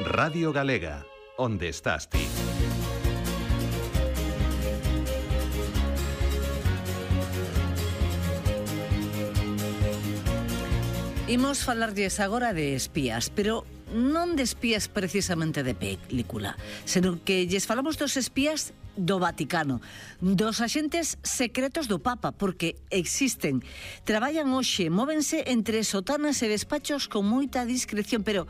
Radio Galega, onde estás ti? Imos falarlles agora de espías, pero non de espías precisamente de película, senón que lles falamos dos espías do Vaticano, dos axentes secretos do Papa, porque existen, traballan hoxe, móvense entre sotanas e despachos con moita discreción, pero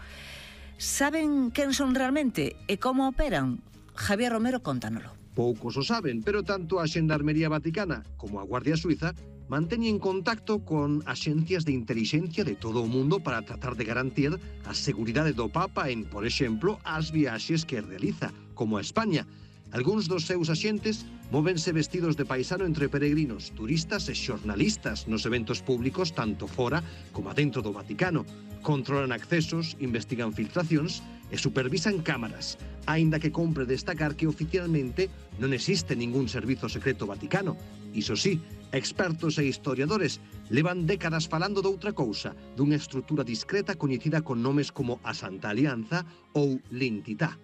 saben quen son realmente e como operan? Javier Romero, contánoslo. Poucos o saben, pero tanto a Xendarmería Vaticana como a Guardia Suiza manteñen contacto con axencias de intelixencia de todo o mundo para tratar de garantir a seguridade do Papa en, por exemplo, as viaxes que realiza, como a España. Algúns dos seus axentes móvense vestidos de paisano entre peregrinos, turistas e xornalistas nos eventos públicos tanto fora como dentro do Vaticano. Controlan accesos, investigan filtracións e supervisan cámaras, aínda que compre destacar que oficialmente non existe ningún servizo secreto vaticano. Iso sí, expertos e historiadores levan décadas falando doutra cousa, dunha estrutura discreta coñecida con nomes como a Santa Alianza ou L'Entità.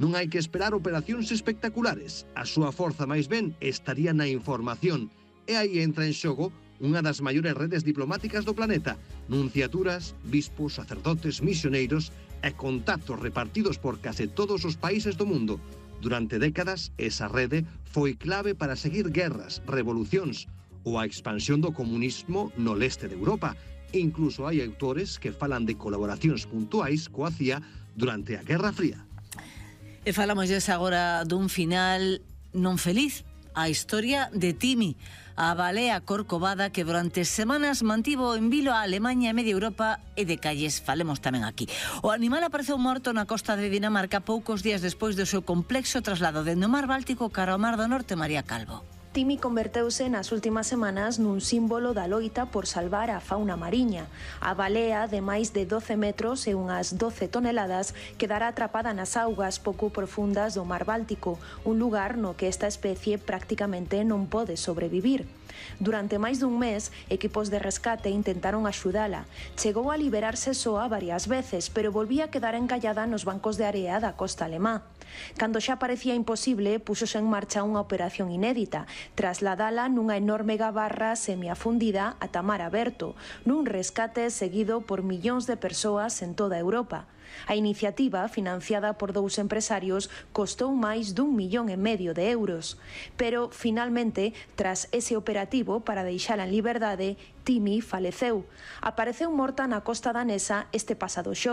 Non hai que esperar operacións espectaculares, a súa forza máis ben estaría na información, e aí entra en xogo unha das maiores redes diplomáticas do planeta, nunciaturas, bispos, sacerdotes, misioneiros e contactos repartidos por case todos os países do mundo. Durante décadas, esa rede foi clave para seguir guerras, revolucións ou a expansión do comunismo no leste de Europa. Incluso hai autores que falan de colaboracións puntuais coa CIA durante a Guerra Fría. E falamos agora dun final non feliz, a historia de Timi, a balea corcovada que durante semanas mantivo en vilo a Alemanha e media Europa e de calles falemos tamén aquí. O animal apareceu morto na costa de Dinamarca poucos días despois do seu complexo traslado dende o mar Báltico cara ao mar do Norte. María Calvo. Timi converteuse nas últimas semanas nun símbolo da loita por salvar a fauna mariña. A balea, de máis de 12 metros e unhas 12 toneladas, quedará atrapada nas augas pouco profundas do mar Báltico, un lugar no que esta especie prácticamente non pode sobrevivir. Durante máis dun mes, equipos de rescate intentaron axudala. Chegou a liberarse soa varias veces, pero volvía a quedar encallada nos bancos de area da costa alemá. Cando xa parecía imposible, púxose en marcha unha operación inédita, trasladala nunha enorme gabarra semiafundida ata mar aberto, nun rescate seguido por millóns de persoas en toda Europa. A iniciativa, financiada por dous empresarios, costou máis d'1,5 millón de euros. Pero, finalmente, tras ese operativo para deixala en liberdade, Timi faleceu. Apareceu morta na costa danesa este pasado xoves.